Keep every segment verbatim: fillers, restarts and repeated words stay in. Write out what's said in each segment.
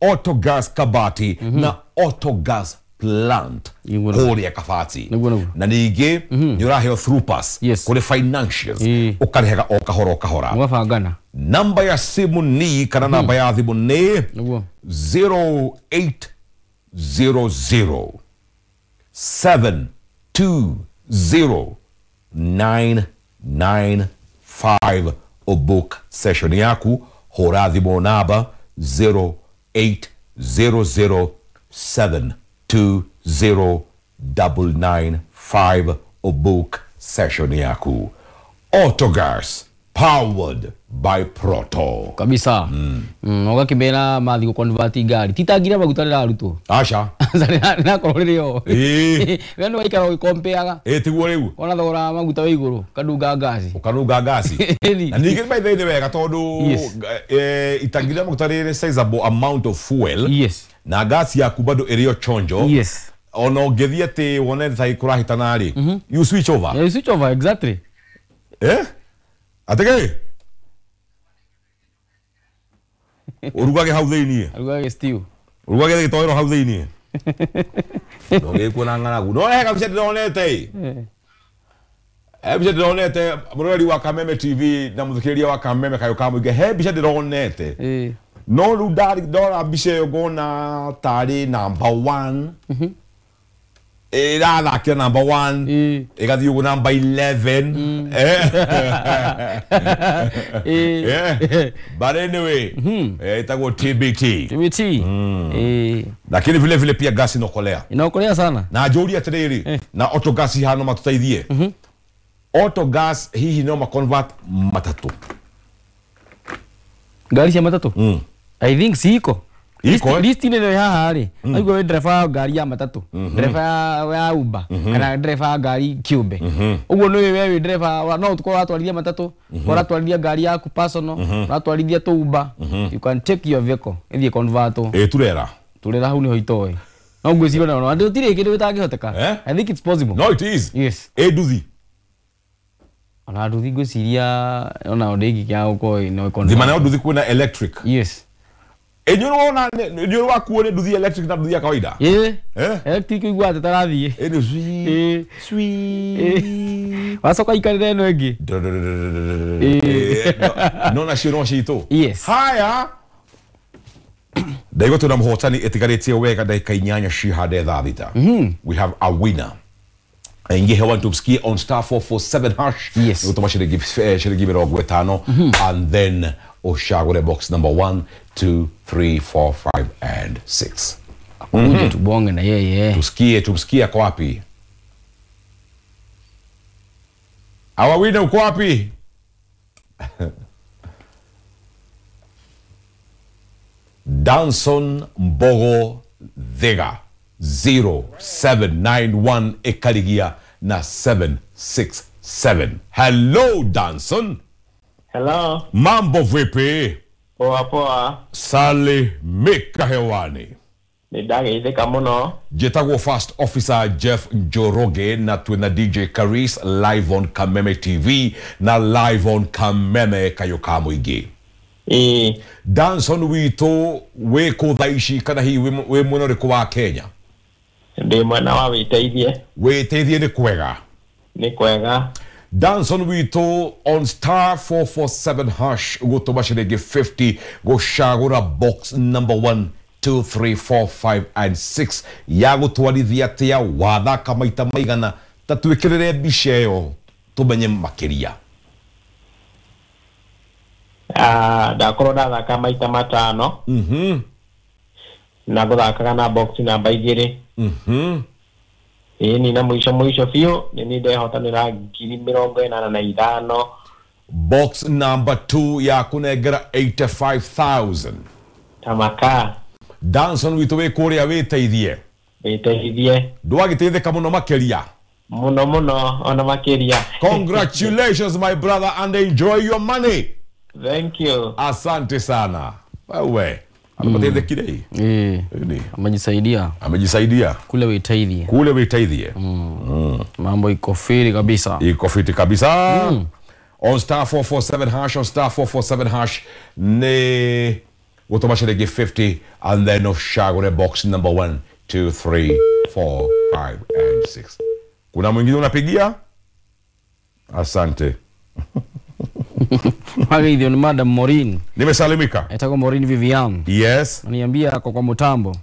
Autogas Kabati na Autogas Plant kũrĩa Kabati. Na ningĩ nĩ ũraheo through pass kũrĩ financials ũkarĩhaga o kahora o kahora. Mũgabangana. Namba ya simu ni kana namba ya thimũ nĩ zero eight zero zero seven two zero nine nine five. Book session yaku hũra thimũ namba zero eight zero zero seven two zero double nine five. Book session yaku. Autogas powered by Proto kabisa. Mm. Mm, ũgakĩmera mathi gũconvert ngari titangira maguta rĩrarutwo. Aca nakorwo rĩrĩ o we nĩ waikara ũgĩkompeaga. Ĩ tiguo rĩu ona thogora wa maguta wĩ igũrũ ũkanunga ngasi ũkanunga ngasi. Na ningĩ by the way nĩ wega tondũ itangi rĩa maguta rĩrĩ sizable amount of fuel. Yes. Na ngasi yaku bado ĩrĩ o chonjo. Yes. Ona ũngĩthiĩ atĩ wone thaa kũrahĩtana rĩ, you switch over. Yeah, you switch over exactly. Eh? Atĩkĩ? Urugage hau thĩiniĩ. Arugage stew. Urugage gĩtoero hau thĩiniĩ. Ndũgĩkuo na ng'aragu. No he kabica ndĩronete ĩ. He mbica ndĩronete mũroreri wa Kameme T V na mũthikĩrĩria wa Kameme Kayũ ka Mũingĩ, he mbica ndĩronete. No rĩu ndora mbica ĩyo ngona tarĩ number one. Ĩrathakĩra number one. Ĩgathiĩ ũguo number eleven. But anyway, ĩtagwo T B T. T B T. Lakini vile vile pia gasi inokolea. Inokolea sana. Na njũrie atĩrĩrĩ, na autogas haha no matũteithie. Autogas hihi no maconvert matatũ. Ngari cia matatũ? I think ciko. List inĩ ĩno haha rĩ, aigua wĩ ndereba wa ngari ya matatũ, ndereba ya Uber, kana ndereba wa ngari kĩũmbe. Ũguo nĩ we wĩ ndereba, no ũkorwo ũratwarithia matatũ, ũratwarithia ngari yaku personal, ũratwarithia tũ Uber, you can take your vehicle, ĩthiĩ convert. Ĩ turera. Turera hau nĩho itoĩ. No ngwĩciria ona gũtirĩ kĩndũ gĩtangĩhoteka. I think it's possible. No it is. Yes. Ĩ nduthi. Ona nduthi ngwĩciria ona ndĩngĩkĩaga gũkorwo no ĩconvert. Thima nayo nduthi kwĩna electric. Yes. Enyoro na nyoro wakuo ni nduthi electric na nduthi ya kawaida. Eh. Electric igua ati tarathiĩ. Eh ni sweet. Sweet. Wacoka ikarire ĩno ĩngĩ. No na cio no citũ. Yes. Haya. Ndaigua twĩna mũhotani ĩtigarĩtie wega ndagĩka inyanya cihande thaa thita. We have a winner. Aingie hewani tumsikie on star four four seven hash. Yes. Gũtũma ciringi ciringi mĩrongo ĩtano and then ushagure box number one, two, three, four, five and six. Akuje tubonge na yeye. Tusikie, tumsikie ako wapi? Our winner uko wapi? Danson Mbogo Dhega zero seven nine one ekarigia na seven six seven. Hello Danson. Hello. Mambo vipi? Poa poa. Salimika hewani. Nĩndageithĩka mũno. Njĩtagwo First Officer Jeff Njoroge na twĩna D J Karis live on Kameme T V na live on Kameme Kayũ ka Mũingĩ. Ĩĩ. Danson witũ wĩ kũ thaa ici kana hihi wĩ mwena ũrĩkũ wa Kenya? Ndĩ mwena wa Wĩteithie. Wĩteithie nĩ kwega? Nĩ kwega. Danson witũ on star four four seven hash gũtũma ciringi fifty gũcagũra box number one, two, three, four, five and six ya gũtwarithia atĩa wathaka maita maigana ta twĩkĩrĩre mbica ĩyo tũmenye makĩria. Ah, ndakorwo ndathaka maita matano. Mhm. Na gũthakaga na box namba igĩrĩ. Mhm. Ĩni na mũico mũico biũ nĩ niĩ ndehotanĩra ngiri mĩrongo ĩnana na ithano. Box number two ya kũnengera eighty-five thousand. Tamaka. Danson witũ wĩ kũrĩa wĩteithie. Wĩteithie. Ndwagĩteithĩka mũno makĩria. Mũno mũno ona makĩria. Congratulations my brother and enjoy your money. Thank you. Asante sana. Wewe. Ameteithĩkire? Eh. Amejisaidia. Amejisaidia. Kule wĩteithie. Kule wĩteithie. Mm. Mm. Mambo iko fiti kabisa. Iko fiti kabisa. Mm. On star four four seven hash, on star four four seven hash ne Gũtũma ciringi fifty and then ũcagũre box number one, two, three, four, five and six. Kuna mwingine unapigia? Asante. Wageithio ni Madam Maureen. Nimesalimika. Etagwo Maureen Vivian. Yes. Aniambia ako kwa mutambo.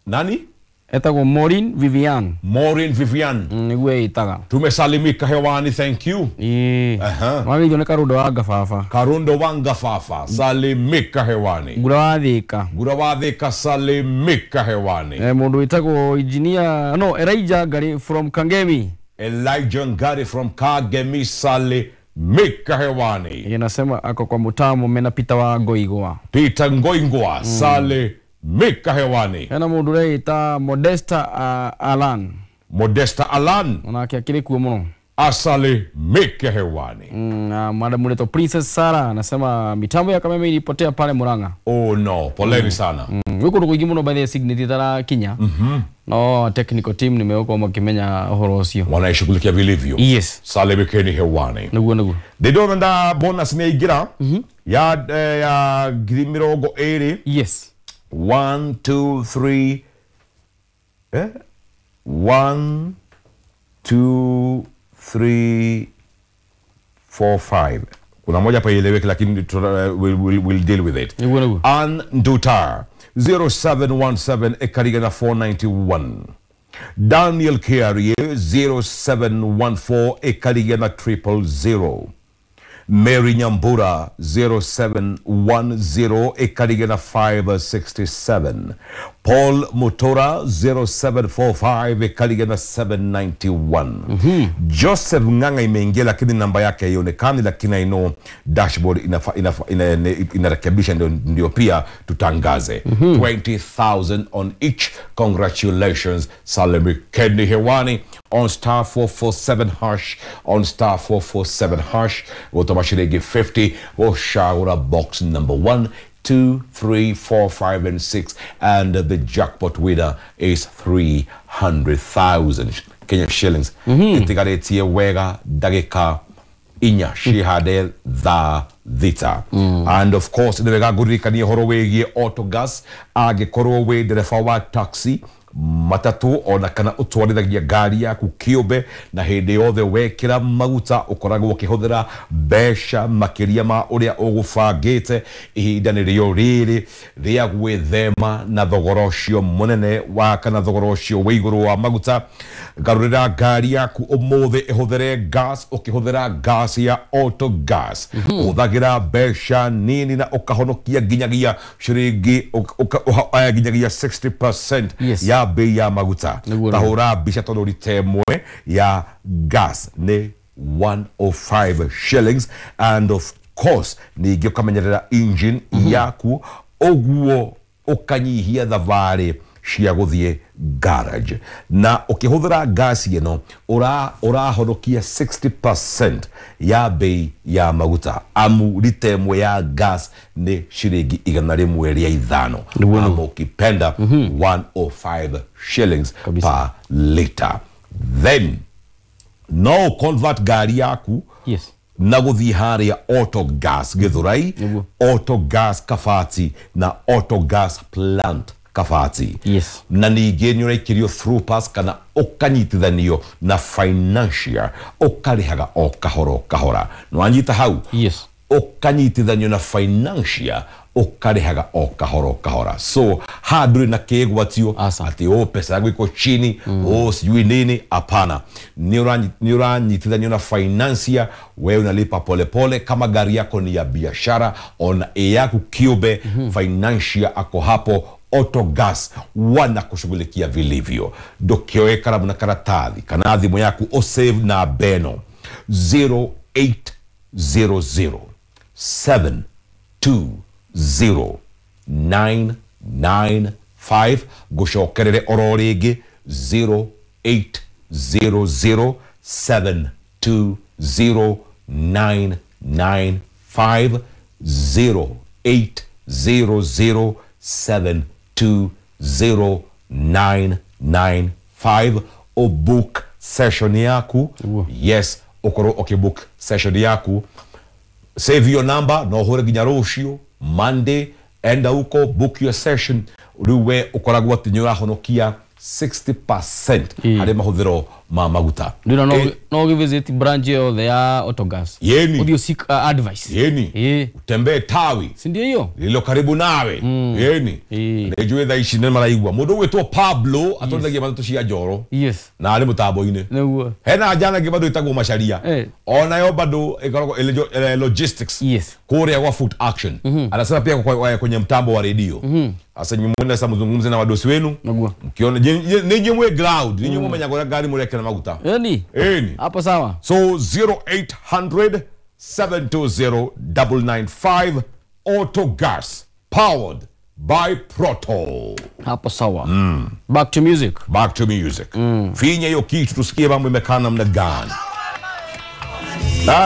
Nani? Etagwo Maureen Vivian. Maureen Vivian. Mm, niguo ĩtaga. Tumesalimika hewani, thank you. Ĩĩ. Aha. Wageithio nĩ Karundo wa Ngababa. Karundo wa Ngababa, salimika hewani. Ngura wa Thika. Ngura wa Thika, salimika hewani. Eh, mundu wĩtagwo engineer no Elijah Ngari from Kangemi. Elijah Ngari from Kangemi, salimika hewani. Inasema ako kwa mutamo mena Peter wa Ngoigwa. Peter Ngoigwa, mm. salimika hewani. Hena mundu ũreita Modesta uh, Alan. Modesta Alan. Onake akĩrĩ kuo mũno. Asalimike hewani. Mm, na madam uleto Princess Sarah anasema mitambo ya Kameme ilipotea pale Murang'a. Oh no, poleni mm. sana. Mm. Wiko ndu kuingi muno by the signity tara kinya. Mhm. No technical team nimeuko makimenya uhoro ucio. Wanaishughulikia vilivyo. Yes. Salimikeni hewani. Niguo niguo. Ndidona nda bonus ni igira. Mhm. Ya eh, ya ngiri mirongo ĩrĩ. Yes. one, two, three eh? one, two, three, four, five. Kuna moja hapa ieleweke lakini we'll, we'll, we'll deal with it. Ann Dutar zero seven one seven ekariga na four ninety-one. Daniel Kiarie zero seven one four ekariga na triple zero. Mary Nyambura zero seven one zero ekariga na five sixty-seven. Paul Mutora zero seven four five ekariga na seven ninety-one. Mm-hmm. Joseph Nganga imeingia lakini namba yake haionekani, lakini I know dashboard inafa, inafa, ina, inarekebisha ndio, ndio pia tutangaze. Mm-hmm. twenty thousand on each. Congratulations. Salemi Kendi hewani on star four four seven hash, on star four four seven hash. Gotoma shilingi fifty goshagura box number one, two, three, four, five and six, and the jackpot winner is three hundred thousand Kenya shillings. Mm-hmm. Itigaretie wega dagika inya shihade tha thita. Mm. And of course nĩ wega ngũririkanie ũhoro wĩgiĩ autogas angĩkorwo wĩ ndereba wa taxi, matatu ona kana ũtwarithagia ngari yaku kĩũmbe, na hĩndĩ yothe wekĩra maguta ũkoragwo ũkĩhũthĩra mbeca makĩria ma ũrĩa ũgũbangĩte. Ihinda nĩrĩo rĩrĩ rĩa gwĩthema na thogora ũcio mũnene wa kana thogora ũcio wĩ igũrũ wa maguta. Garũrĩra ngari yaku ũmũthĩ ĩhũthĩre gas, ũkĩhũthĩra gas ya autogas. Hũthagĩra mbeca nini na ũkahonokia nginyagia ciringi nginyagia sixty percent Yes. ya bei ya maguta. Tahũra mbica tondũ rita ĩmwe ya gas nĩ one oh five shillings, and of course ningĩ ũkamenyerera engine yaku ũguo ũkanyihia thabarĩ cia gũthiĩ garage. Na ũkĩhũthĩra gas ĩno ũra ũrahonokia sixty percent ya bei ya maguta, amu rita ĩmwe ya gas nĩ ciringi igana rĩmwe rĩa ithano, ama ukipenda one oh five shillings Kabisa. per liter. Then no convert ngari yaku Yes. na gũthiĩ harĩa autogas Gĩthũrai, Nĩguo. autogas Kabati na autogas plant Kabati. Yes. Na ningĩ nĩ ũraikĩrio through pass kana ũkanyitithanio na financial ũkarĩhaga o kahora o kahora. Nĩwanyita hau? Yes. Ũkanyitithanio na financial ũkarĩhaga o kahora o kahora. So haha ndũrĩ na kĩgwatio Asa. atĩ oh pesa yangu iko chini, oh sijui nini. Hapana, nĩ ũranyitithanio na financier, wewe unalipa polepole. Kama gari yako ni ya biashara ona ĩ yaku kĩũmbe, financier ako hapo. Autogas wanakushughulikia vilivyo. Ndũkĩoe karamu na karatathi kana thimũ yaku ũsave na beno zero eight zero zero seven two zero nine nine five. Ngũcokerere oro rĩngĩ zero eight zero zero seven two zero nine nine five, zero eight zero zero seven two zero nine nine five. Ũbook session yaku. Yes, ũkorwo ũkĩbook session yaku. Save your number no ũhũre nginya rũciũ Monday Enda huko, book your session, rĩu we ũkoragwo atĩ nĩ ũrahonokia sixty percent harĩ mahũthĩro ma maguta. Ndĩna no no ũgĩvisit branch yothe ya Autogas. Yeni. Ũthiĩ seek uh, advice. Yeni. Ĩĩ. Utembee tawi Si ndio hiyo? lililo karibu nawe. Yeni. Ĩĩ. Nĩnjũĩ thaa ici nĩ maraigua mũndũ ũgwĩtwo Pablo atwarithagia matatũ cia Njoro Yes. na arĩ mũtambo-inĩ. Nĩguo. Hena njana ĩngĩ bado ĩtagwo Macharia. Eh. Onayo bado ĩkoragwo ĩrĩ eh, logistics. Yes. Kũrĩa gwa Food Action. Anasema pia kwa, kwa, kwenye mtambo wa redio. Sasa nyinyi mwende sasa mzungumze na wadosi wenu. Nĩguo. Mkiona ninyi mwe ground, ninyi mumenya kũrĩa ngari mũrekĩra maguta. Yaani Ĩni. hapo sawa. So zero eight hundred seven two zero nine nine five Autogas powered by Proto. Hapo sawa. Mm. Back to music. Back to music. Mm. Finya hiyo kitu tusikie mambo imekaa namna gani.